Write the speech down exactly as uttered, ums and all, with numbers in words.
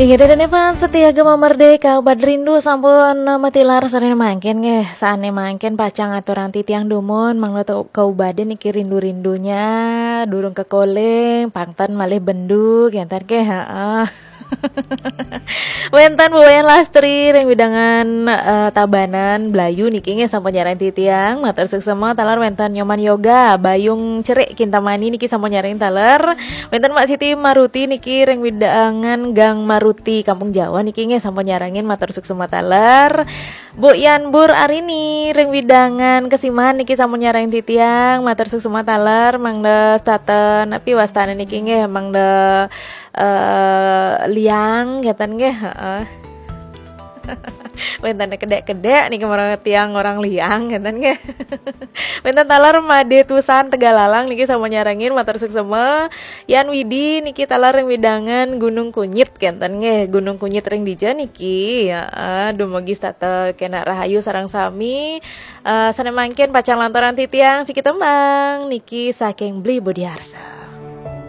Inggih, ida dané fans setia Gema Merdeka, Obat Rindu sampun matilar sané mangkin nggih. Sané mangkin pacang aturang titiang dumun, mangda kaubadan niki rindu-rindunya, durung kekoling, pang ten malih bendu, kénten nggih, heeh. Wénten Bu Wayan Lastri ring wewidangan, eh, Tabanan Blayu niki nggih sampun nyarengin titiang, matur suksma. Taler wénten Nyoman Yoga, Bayung Cerik Kintamani niki sampun nyarengin taler. Wénten Mak Siti Maruti niki ring wewidangan Gang Maruti, Kampung Jawa niki nggih sampun nyarengin, matur suksma taler. Bu Yan Bur Arini ring wewidangan Kesiman niki sampun nyarengin titiang, matur suksma taler. Mangda setata napi wastané niki nggih, mangda, eh, Liang kénten nggih, heeh. Wénten kedék-kedék niki marang tiang orang Liang kénten nggih. Wénten taler Madé Tusan Tegalalang niki sampun nyarengin, matur suksma. Yan Widi niki taler ring wewidangan Gunung Kunyit kénten nggih. Gunung Kunyit ring dija niki? Ya, eh, dumugi setata kénak rahayu sareng sami. Eh, sané mangkin pacang lanturang titiang siki tembang niki saking Bli Budi Arsa.